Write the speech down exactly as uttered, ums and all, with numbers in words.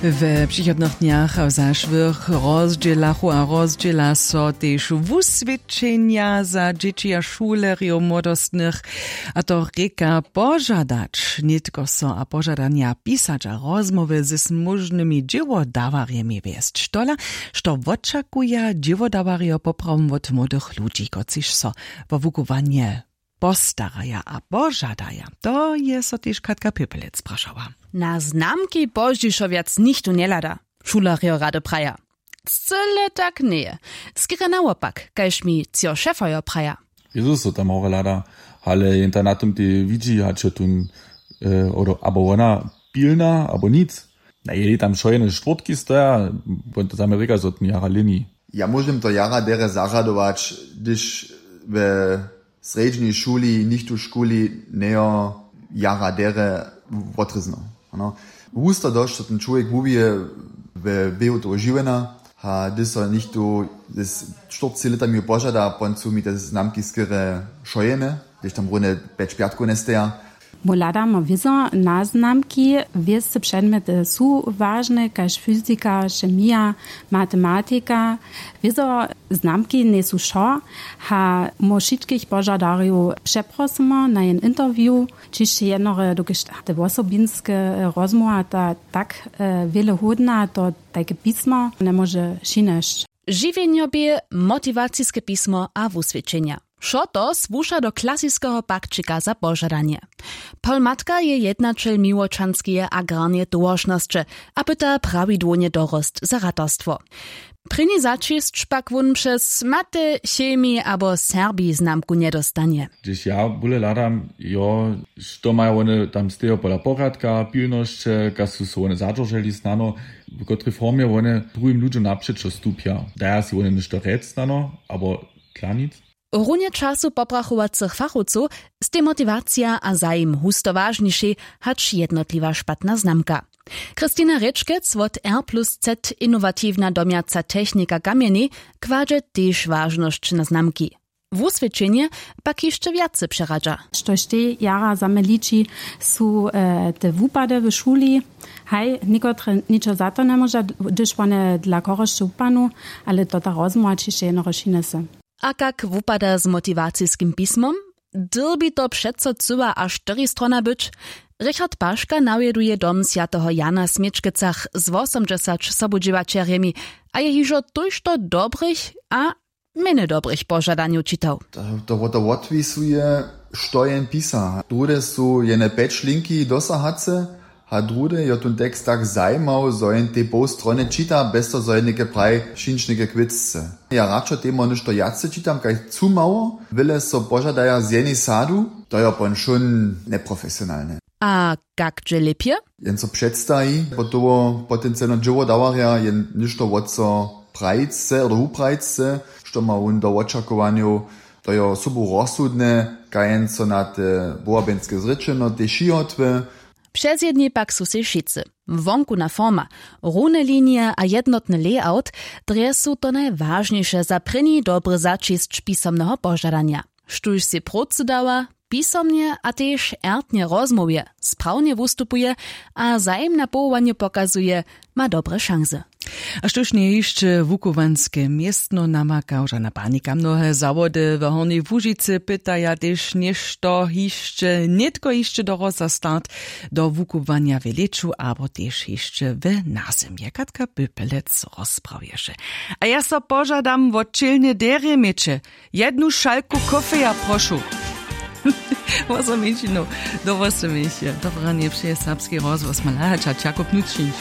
We přichodnych dnjach a w zašłych rozdźělachu a rozdźěla so tež wuswědčenja za dźěći a šulerjow młodostnych. A to rěka požadać nětko so a požadanja pisać a rozmołwy z móžnymi dźěłodawarjemi wjesć tola, što wočakuja dźěłodawarjo poprawom wot młodych ludźi kotřiž so wo wukubłanje postaraja a požadaja. To je so tež katka pěpelec prašała. Na znamki pozdźišo wjac nichtó njehlada, šulerjo rady praja. Cyle tak njeje. Skerje nawopak, kaž mi třo šefojo praja. Jezus so tam hore hlada, ale jen ta na tym tej widźi hač jo tón abo wona pilna abo nic. Na jeli tam wšojene štwórtki stoja. Wón to zaměrika zo tón jara lěni. Ja móžem to jara derje zarjadować, hdyž we srjedźnej šuli nichtó škuli njejo jara derje wotrězno. Husto dosć so ten čłowjek wuwije we běhu toho žiwjena. A hdyž so nichtó z štyrceći lětami požada pon su mi te znamki skerje šojene, hdyž tam runje pjeć pjatkow njesteja. Mój hladamy wězo na znamki. Wěsce předmjety su wažne kaž fyzika, chemija, matematika. Wězo znamki njejsu wšo. A mój wšitkich požadarjow přeprosymy na jen interview, čišće jednore dokelž te wosobinske rozmołwa ta tak wjele hódna to tajke pismo njemóže přinesć. Žiwjenjobě, motiwaciske pismo a wuswědčenja, wšo to słuša do klasiskeho pakćika za požadanje. Pol matka je jednaćel miłočanskeje agrarneje towaršnosće a pyta prawidłownje dorost za ratarstwo. Prěni zaćisć pak wón přez mate chemi abo serbi znamku njedostanje. Hdyž ja bóle hladam, jo, što maja wone tam stejo pola porjadka pilnosće kaž su so wone zadźerželi snano, w kotrej formje wone druhim ludźom napřećo stupja? Daja sej wone něšto rjec snano abo tlanic? Runje času poprachowacych fachowcow stej motiwacija a zajim husto wažnišej hač jednotliwa špatna znamka. Christina rěčkec wot r plus z, inowatiwna domjaca technika kamjenej, kładźe tež wažnosć na znamki. Wuswědčenje pak hišće wjace přeradźa. Štož tej jara za mje liči, su te wupady w šuli. Haj, někotre ničo za to njemóža, hdyž wone dla chorosće wupadnu, ale to ta rozmołwa ćišće jednorož hinese. A kak wupada z motiwaciskim pismom? Dyrbi to přeco cyła a štyristrona być? Richard paška nawjeduje dom swjateho jana w směčkecach z wosomdźesać sobudźěłaćerjemi a je hižo tójšto dobrych a mjene dobrych požadanjow čitał. To to wotwisuje, što jen pisa. Druhde su jene pjeć linki dosahace, a druhde jo tón tekst tak zajimał zo jen tej poł strony čita bjez to zo jen něke praji, přińć něke kwěcce. Ja radšo temoj něšto wjace čitam kaž cumało wjele so požadaja z jenej sadu. To jo pon wšón njeprofesionalne. A kak dźe lěpje? Jen so předstaji potowo potencialno dźěłodawarja jen něšto wot so prajic chce abo wuprajic chce, što ma wón do wočakowanjow. To jo sobu rozsudne, kaž jen so na te wobabjenske zrěčeno tež jihotwy. Přezjedni pak su sej wšitcy. Wonkuna forma, rune linije a jednotny layout, drje su to najwažniše za prěni dobry zaćisć pisomneho požadanja. Štóž sej prócy dawa, pisomnje a tež ertnje rozmołwje, sprawnje wustupuje a zajim na powołanje pokazuje, ma dobre šansy. A štóž njeje hišće wukubłanske městno namaka žana panika mnohe zawody w hornjej łužicy pytaja tež něšto hišće nětko hišće do roza start do wukubłanja w lěću abo tež hišće w nazymje katka pypelec rozprawješe. A ja so požadam wot ćělnje derje měće jednu šalku kofeja prošu. Wosominčinu do wosominčinu dobranje přeje serbski rozhłos malahača čakup nučnić.